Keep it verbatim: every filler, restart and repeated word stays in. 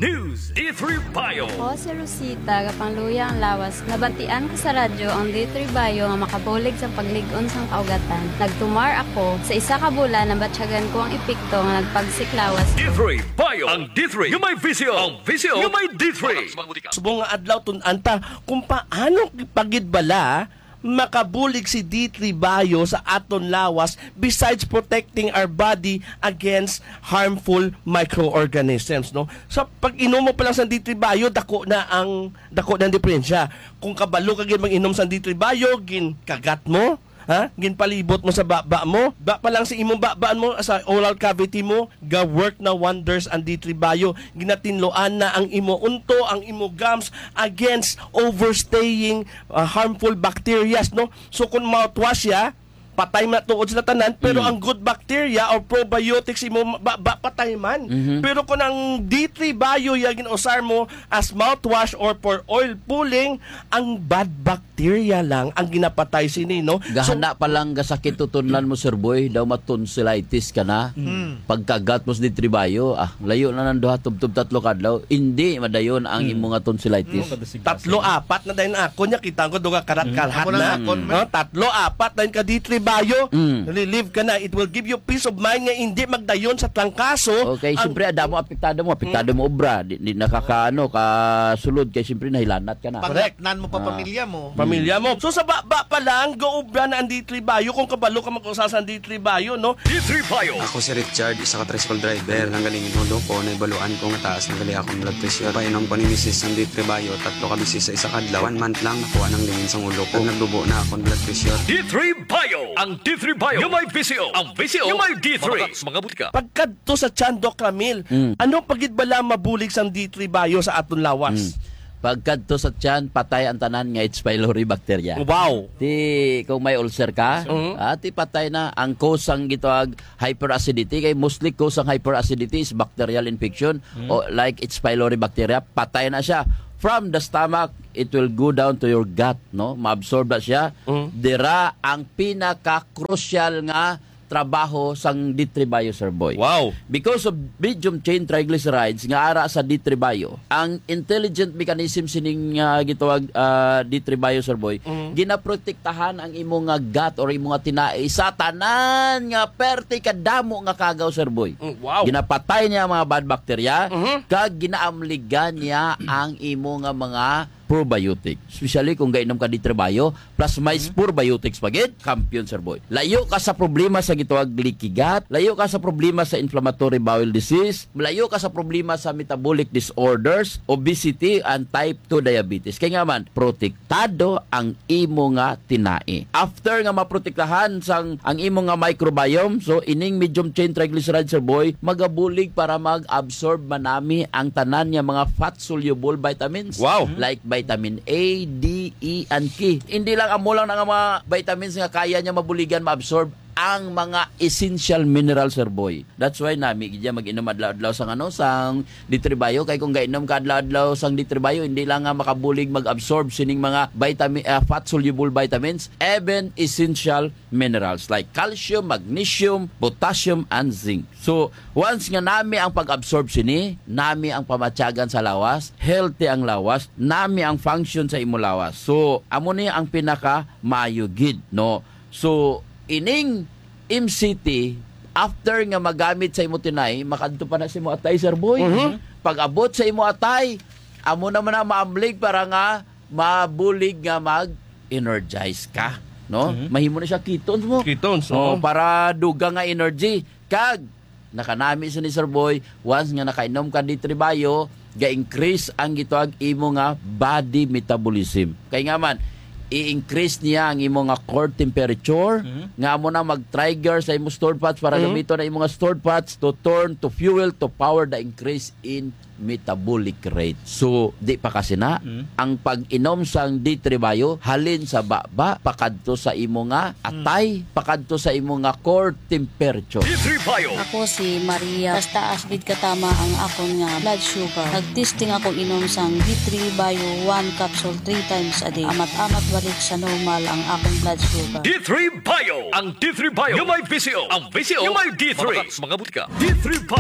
News D three Bio. Ako si Rosita, gapangluya ang lawas. Nabatian ko sa radyo ang D three Bio nga makabulig sa paglig-on sang kaugatan. Nagtumar ako. Sa isa ka bulan, nabatyagan ko ang epekto nga nagpagsik lawas. D three Bio. Ang D three nga may visyo. Ang visyo nga may D three. Subong nga adlaw, tun-an ta kung paano pa gid bala makabulig si D three Bio sa aton lawas, besides protecting our body against harmful microorganisms, no? Sa pag-inom mo pa lang sa D three Bio, dako na ang, dako na ang diferensya. Kung kabalo ka gid mag-inom sa D three Bio, ginkagat mo, ha? Ginpalibot mo sa baba mo, ba pa lang sa imong babaan mo, sa oral cavity mo, ga-work na wonders ang D three Bio. Ginatinloan na ang imo unto, ang imo gums against overstaying, ah, harmful bacterias, no? So, kung mouthwash siya, patay man tuod sila tanan, pero Mm. ang good bacteria or probiotics imo ba, ba patay man. Mhm. Pero kung ang D three Bio ya ginausar mo as mouthwash or for oil pulling, ang bad bacteria lang ang ginapatay sini, no? So, gahana pa lang gasakit tutunlan mo, Sir Boy, daw matonsillitis ka na. Mm. Pagkagat mo sa D three Bio, ah, layo na nang duha, tubtob tatlo ka adlaw, hindi madayon ang Mm. imo nga tonsillitis. Mm, kada sigla Tatlo, siya. Apat na dayon ako niya, kita ko duha karat Mm. kalhat Ako lang na. Akon, man. No, tatlo, apat dayon ka D three Bio, Mm. relieve ka na. It will give you peace of mind nga hindi magdayon sa trangkaso. Okay, ang siyempre, adamo apektado mo, apektado Mm. mo obra, di, di nakakaano, kasulod kay siyempre nahilanat ka na. Correct. Panglatnan mo pa Ah. pamilya mo. Pamilya mo. So, sa baba pa lang, gaobra na ang D three Bio kung kabalo ka mag-usa sa D three Bio, no? D three Bio. Ako si Richard, isa ka tricycle driver. Nanggaling ang ulo ko, naibaluan ko nga taas na gali akong blood pressure. Painom ko ni misis sang D three Bio, tatlo ka beses sa isa ka adlaw. One month lang, nakuha nang lingin sang ulo ko. Nagdubo na akong blood pressure. D three Bio. Ang D three Bio. Yung may visyo. Ang visyo. Yung may D three. Mga, mga butika. Pagkadto sa tiyan, Doc Ramil, Mm. ano pa gid bala mabulig sang D three Bio sa aton lawas? Mm. Pagkadto sa tiyan, patay ang tanan nga H. pylori bacteria. Wow! Ti, kung may ulcer ka, Mhm. ah, ti patay na. Ang cause sang gitawag hyperacidity, kay mostly cause ang hyperacidity is bacterial infection Mhm. o like H. pylori bacteria, patay na siya. From the stomach, it will go down to your gut, no? Maabsorb na siya. Mhm. Dira ang pinaka-crucial nga trabaho sang D three Bio, Sir Boy. Wow. Because of medium chain triglycerides nga ara sa D three Bio, ang intelligent mechanism sining, ah, gitawag, ah, D three Bio, Sir Boy, Mhm. ginaprotektahan ang imo nga gut or imo nga tinai sa tanan nga perte kadamo nga kagaw, Sir Boy. Mm, wow. Ginapatay niya ang mga bad bacteria, Mhm. kag ginaamligan niya ang imo nga mga probiotic. Especially kung gainom ka D three Bio, plus may Hmm? probiotics pa gid, kampiyon, Sir Boy. Layo ka sa problema sa gitawag leaky gut, layo ka sa problema sa inflammatory bowel disease, layo ka sa problema sa metabolic disorders, obesity, and type two diabetes. Kay nga man, protektado ang imo nga tinai. After nga maprotektahan sang ang imo nga microbiome, so ining medium chain triglyceride, Sir Boy, magabulig para mag-absorb manami ang tanan nga mga fat-soluble vitamins. Wow. Like vitamin A, D, E, and K. Hindi lang amo lang na nga mga vitamins nga kaya niya mabuligan, maabsorb ang mga essential minerals, Sir Boy. That's why nami gid niya mag-inom adlaw-adlaw sang ano, sang D three Bio. Kay kung gainom ka adlaw-adlaw sang D three Bio, hindi lang nga makabulig mag-absorb sining mga vitamin, ah, fat-soluble vitamins, even essential minerals like calcium, magnesium, potassium, and zinc. So, once nga nami ang pag-absorb sini, nami ang pamatyagan sa lawas, healthy ang lawas, nami ang function sa imo lawas. So, amo ni ang pinaka maayo gid, no? So, ining M C T, after nga magamit sa imo tinai, makadto pa na sa imo atay, Sir Boy. Mhm. Pag-abot sa imo atay, amo naman na maamlig para nga mabulig nga mag-energize ka, no? Mhm. Mahimo na siya ketones mo. Ketones, Oh, oo. para dugang nga energy. Kag nakanami sa ni Sir Boy, once nga nakainom ka D three Bio, ga-increase ang gitawag imo nga body metabolism. Kay nga man, i-increase niya ang imo nga core temperature, Mhm. nga amo na mag-trigger sa imo stored fats para Mhm. gamiton ang imo nga stored fats to turn to fuel to power the increase in metabolic rate. So, di pa kasi na, Mm. ang pag-inom sang D three Bio, halin sa baba, pakadto sa imo nga Mm. atay, pakadto sa imo nga core temperature. D three Bio. Ako si Maria. Taas-taas gid katama ang akon nga blood sugar. Nag-testing ako inom sang D three Bio one capsule three times a day. Amat-amat balik sa normal ang akong blood sugar. D three Bio. Ang D three Bio. Yung may visyo. Ang visyo. Yung may D three. Mga, mga butika. D three Bio.